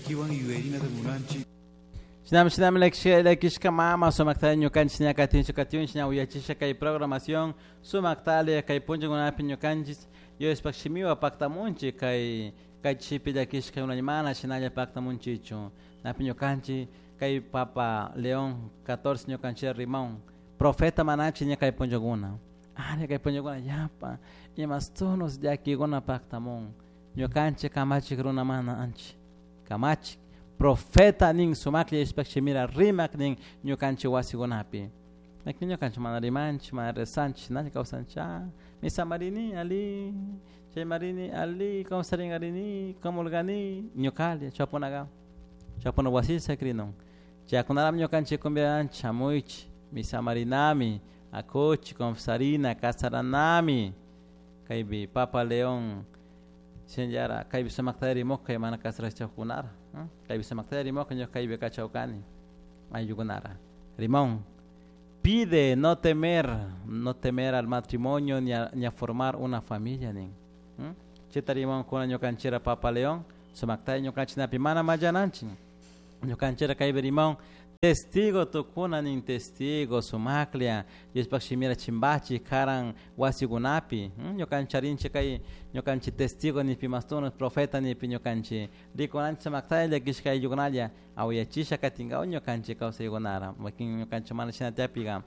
Llaquihuan yuyarinata munanchik. Shinami shinami llakishka mama sumaktalla ñukanchik ña katinchik katinchik ña uyachisha kay programación sumaktalla kay punllakunapi ñukanchik Diospaj shimiwan paktamunchik kay kay chishipi llakishka mana shinalla paktamunchichu napi ñukanchik kay Papa León 14 ñukanchik rimaun profeta manachi ña kay punllakuna ari kay punllakuna yapa imastunos llakikuna paktamun ñukanchik kamachik runa mana anchik kamachik profeta nin sumaklla Diospaj shimira rimak nin ñukanchik wasikunapi Lakin ñukanchik mana rimanchik mana rezanchik shinalla kawsanchik misamarini ali chaymarini ali kawsaringarini comulgani ñukalla chaypunaga chaypuna wasita sakirinun chaykunarami ñukanchik convidanchik shamuychik misamarinami akuchik confesarina kasaranami kaypi Papa León shinallara kaypi sumakta rimukka mana kasarashkakunara kaypi sumakta rimukka ñuka kaypi kachawkani ayllukunara rimon pide no temer no temer al matrimonio ni a formar una familia nin chayta rimankuna ñukanchikra Papa León sumakta ñukanchiknapi mana mallananchik ñukanchikra kaypi rimon testigo tukuna nin testigo sumaklla Diospaj shimira chimbachik karan wasikunapi ñukanchik charinchik kay ñukanchik testigo nipi mastuno profeta nipi ñukanchik rikunanchik sumaktalla llakishka ayllukunalla awayachisha katinkawa ñukanchik kawsaykunara wakin ñukanchik mana shina tiyapika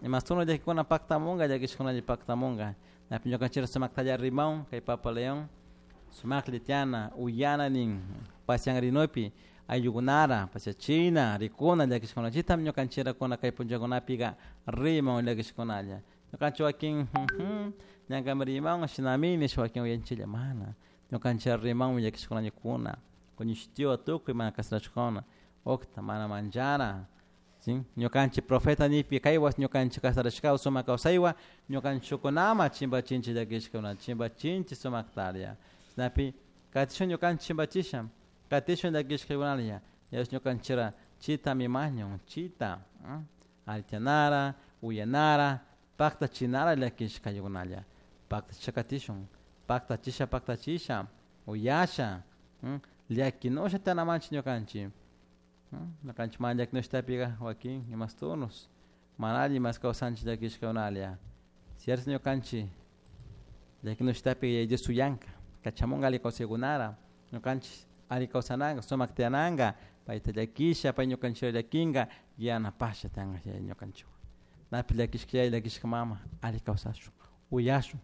imastuno llakikuna paktamunka llakishkunalla paktamunka napi ñukanchikra sumaktalla rimaun kay Papa León sumaklla tiyana uyana nin pasianrinupi ayllukunara pasiachina rikuna llakishkuna chaytami ñukanchikrakuna kay punllakunapika riman llakishkunalla ñukanchik wakin ñankami riman shinami nish wakin uyanchiklla mana ñukanchik rimanmi llakishkunalla kuna kuñishtiwa tukuy mana kasarashkuna ukta mana manchana ¿sí? Ñukanchik profeta nipi kaywas ñukanchik kasarashkawa sumak kawsaywan ñukanchikkunama chimpachinchik llakishkuna chimpachinchik sumaktalla chaynapi katishun ñukanchik chimpachisha katishun llakishkakunalla Dios ñukanchikra chitami mañun chita allichanara uyanara paktachinara llakishkaykunalla paktachisha katishun paktachisha paktachisha uyasha llakinusha tiyanamanchik ñukanchik ñukanchik mana llakinushtapica wakin imastunos mana alli mas kawsanchik llakishkakunalla cierto ñukanchik llakinushtapi Yaya Dios uyanka kachamunka alli kawsaykunara ñukanchik alli kawsananka sumak tiyananka payta llakisha pay ñukanchikta llakinka yanapasha tiyanka yaya ñukanchikwan napi llakishka yaya llakishka mama alli kawsashun uyashun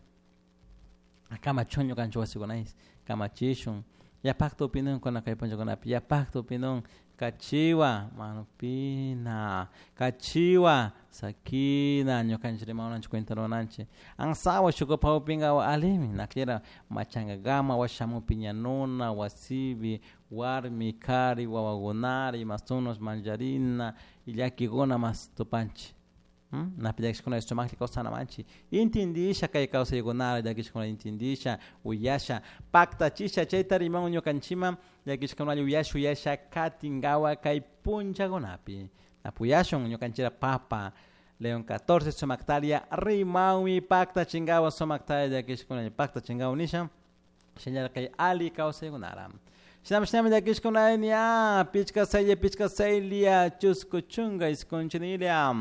kamachun ñukanchik wasikunayis kamachishun yapakta upinunkuna kay punllakunapi yapakta upinun kachiwa manupina kachiwa sakina ñukanchik rimawananchik cuentaruwananchik ansawa shukupak upinka alimi naklira machankakama washamun piñanuna wasipi warmi kari wawakunara imasunos mancharina llakikuna mas tupanchik napi llakishkuna sumaklla kawsanamanchik intindisha kay kawsaykunara llakishkuna intindisha uyasha paktachisha chayta riman ñukanchikman llakishkunalla uyasha uyasha katinkawa kay punllakunapi napuyashun ñukanchikra Papa León 14 sumaktalia rimanmi paktachinkawa sumaktalla llakishkunalla paktachinkawa nisha shinallara kay alli kawsaykunara shinami shinami llakishkuna ña pichka saylla pichka saylla chusku chunka isqunchinilia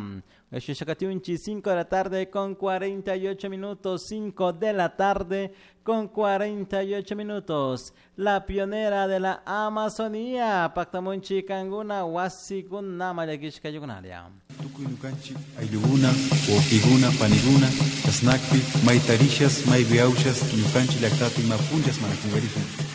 Shishakatiunchi 5 de la tarde con 48 minutos, 5 de la tarde con 48 minutos. La pionera de la Amazonía, Pactamunchi Kanguna, Wasikuna, Mayakishka Yugunalia. Tukuy ñukanchik ayllukuna, wawqikuna, panikuna, chasnakpi, maytarishas, maypiawshas, ñukanchik llaktapi ima punllas mana kunkarishun.